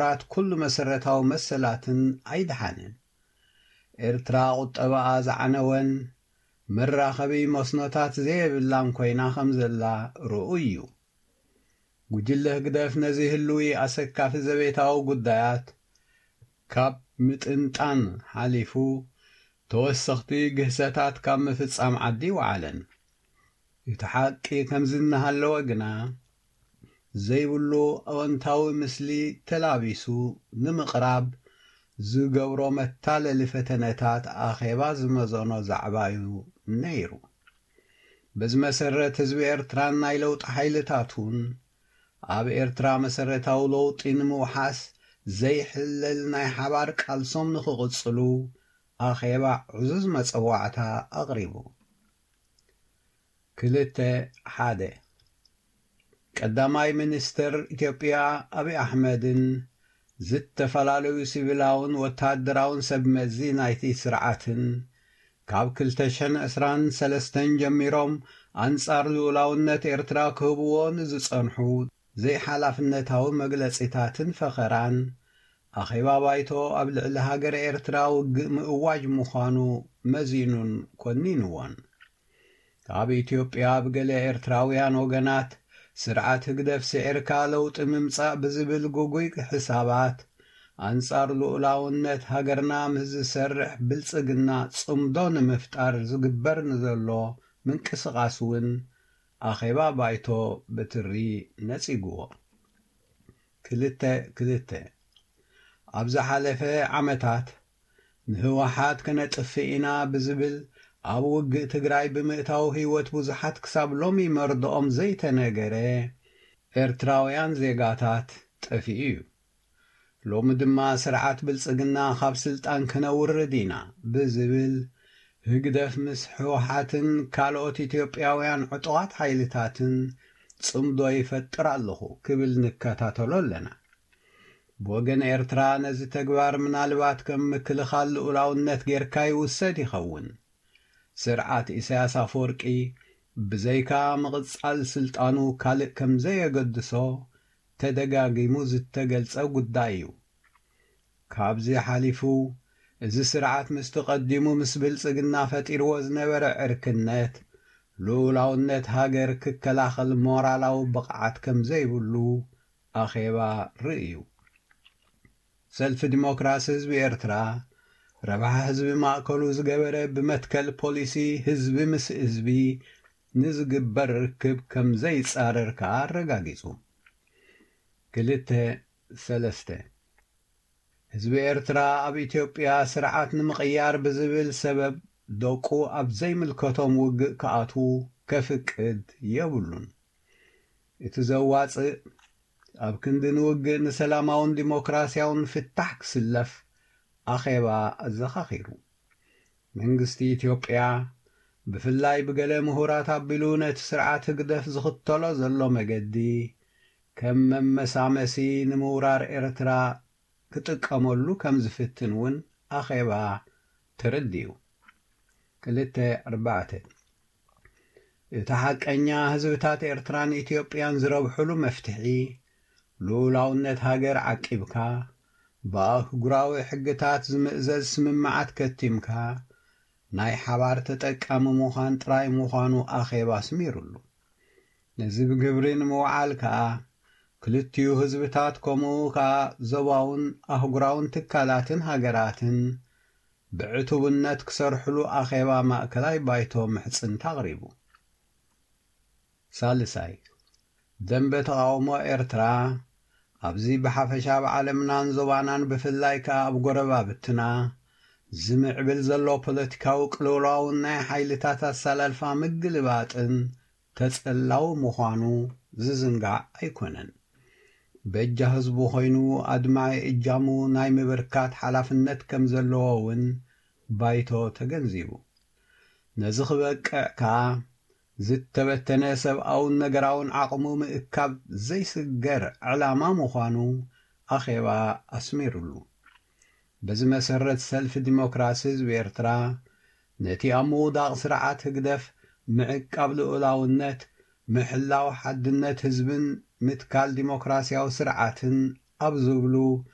ምሁራት ኩሉ መሰረታዊ መሰላትን ኣይደሓንን። ኤርትራ ቁጠባኣ ዝዓነወን መራኸቢ መስኖታት ዘየብላን ኮይና ከም ዘላ ርኡይ እዩ። ጉጅለ ህግደፍ ነዚ ህልዊ ኣሰካፊ ዘቤታዊ ጉዳያት ካብ ምጥንጣን ሓሊፉ ተወሰኽቲ ግህሰታት ካብ ምፍጻም ዓዲ ይወዓለን። እቲ ሓቂ ከምዚ እናሃለወ ግና ዘይብሉ ኣወንታዊ ምስሊ ተላቢሱ ንምቕራብ ዝገብሮ መታለሊ ፈተነታት ኣኼባ ዝመዘኖ ዛዕባ እዩ ነይሩ። በዚ መሰረት ህዝቢ ኤርትራን ናይ ለውጢ ሓይልታቱን ኣብ ኤርትራ መሰረታዊ ለውጢ ንምውሓስ ዘይሕለል ናይ ሓባር ቃልሶም ንኽቕጽሉ ኣኼባ ዕዙዝ መጸዋዕታ ኣቕሪቡ። ክልተ ሓደ ቀዳማይ ሚኒስትር ኢትዮጵያ ኣብይ ኣሕመድን ዝተፈላለዩ ሲቪላውን ወታደራውን ሰብ መዚ ናይቲ ስርዓትን ካብ ክልተ ሽሕን ዕስራን ሰለስተን ጀሚሮም ኣንጻር ልኡላውነት ኤርትራ ክህብዎ ንዝጸንሑ ዘይሓላፍነታዊ መግለጺታትን ፈኸራን ኣኼባ ባይቶ ኣብ ልዕሊ ሃገረ ኤርትራ ውግእ ምእዋጅ ምዃኑ መዚኑን ኮኒንዎን። ኣብ ኢትዮጵያ ብገለ ኤርትራውያን ወገናት ስርዓት ህግደፍ ስዒርካ ለውጢ ምምጻእ ብዝብል ግጉይ ሕሳባት ኣንጻር ልኡላውነት ሃገርና ምስ ዝሰርሕ ብልጽግና ጽምዶ ንምፍጣር ዝግበር ንዘሎ ምንቅስቓስ እውን ኣኼባ ባይቶ ብትሪ ነጺግዎ። ክልተ ክልተ ኣብ ዝሓለፈ ዓመታት ንህወሓት ከነጥፍእ ኢና ብዝብል ኣብ ውግእ ትግራይ ብምእታው ህይወት ብዙሓት ክሳብ ሎሚ መርድኦም ዘይተነገረ ኤርትራውያን ዜጋታት ጠፊኡ እዩ። ሎሚ ድማ ስርዓት ብልጽግና ካብ ስልጣን ከነውርድ ኢና ብዝብል ህግደፍ ምስ ህወሓትን ካልኦት ኢትዮጵያውያን ዕጡቓት ሓይልታትን ጽምዶ ይፈጥር ኣለኹ ክብል ንከታተሎ ኣለና። ብወገን ኤርትራ ነዚ ተግባር ምናልባት ከም ምክልኻል ልኡላውነት ጌርካ ይውሰድ ይኸውን። ስርዓት ኢሳያስ ኣፈወርቂ ብዘይካ ምቕጻል ስልጣኑ ካልእ ከም ዘየገድሶ ተደጋጊሙ ዝተገልጸ ጉዳይ እዩ። ካብዚ ሓሊፉ እዚ ስርዓት ምስቲ ቀዲሙ ምስ ብልጽግና ፈጢርዎ ዝነበረ ዕርክነት ልኡላውነት ሃገር ክከላኸል ሞራላዊ ብቕዓት ከም ዘይብሉ ኣኼባ ርእዩ። ሰልፊ ዲሞክራሲ ህዝቢ ኤርትራ ረብሓ ህዝቢ ማእከሉ ዝገበረ ብመትከል ፖሊሲ ህዝቢ ምስ ህዝቢ ንዝግበር ርክብ ከም ዘይጻረር ከኣ ኣረጋጊጹ። ክልተ ሰለስተ ህዝቢ ኤርትራ ኣብ ኢትዮጵያ ስርዓት ንምቕያር ብዝብል ሰበብ ደቁ ኣብ ዘይምልከቶም ውግእ ክኣትዉ ከፍቅድ የብሉን። እቲ ዘዋጽእ ኣብ ክንዲ ንውግእ ንሰላማውን ዲሞክራሲያውን ፍታሕ ክስለፍ ኣኼባ ኣዘኻኺሩ። መንግስቲ ኢትዮጵያ ብፍላይ ብገለ ምሁራት ኣቢሉ ነቲ ስርዓት ህግደፍ ዝኽተሎ ዘሎ መገዲ ከም መመሳመሲ ንምውራር ኤርትራ ክጥቀመሉ ከም ዝፍትን እውን ኣኼባ ተረዲኡ። ክልተ ኣርባዕተ እቲ ሓቀኛ ህዝብታት ኤርትራን ኢትዮጵያን ዝረብሕሉ መፍትሒ ልኡላውነት ሃገር ዓቂብካ ብኣህጉራዊ ሕግታት ዝምእዘዝ ስምምዓት ከቲምካ ናይ ሓባር ተጠቃሚ ምዃን ጥራይ ምዃኑ ኣኼባ ኣስሚሩሉ። ነዚ ብግብሪ ንምውዓል ከኣ ክልቲኡ ህዝብታት ከምኡ ከኣ ዞባውን ኣህጉራውን ትካላትን ሃገራትን ብዕቱብነት ክሰርሕሉ ኣኼባ ማእከላይ ባይቶ ምሕጽንታ ኣቕሪቡ። ሳልሳይ ደንበ ተቓውሞ ኤርትራ ኣብዚ ብሓፈሻ ኣብ ዓለምናን ዞባናን ብፍላይ ከኣ ኣብ ጎረባብትና ዝምዕብል ዘሎ ፖለቲካዊ ቅልውላውን ናይ ሓይልታት ኣሰላልፋ ምግልባጥን ተጸላዊ ምዃኑ ዝዝንጋዕ ኣይኮነን። በጃ ህዝቡ ኮይኑ ኣድማዒ እጃሙ ናይ ምብርካት ሓላፍነት ከም ዘለዎ እውን ባይቶ ተገንዚቡ። ነዚ ክበቅዕ ከኣ ዝተበተነ ሰብኣውን ነገራውን ዓቕሙ ምእካብ ዘይስገር ዕላማ ምዃኑ ኣኼባ ኣስሚሩሉ። በዚ መሰረት ሰልፊ ዲሞክራሲ ህዝቢ ኤርትራ ነቲ ኣብ ምውዳቕ ስርዓት ህግደፍ ምዕቃብ ልኡላውነት፣ ምሕላው ሓድነት ህዝብን ምትካል ዲሞክራሲያዊ ስርዓትን ኣብ ዝብሉ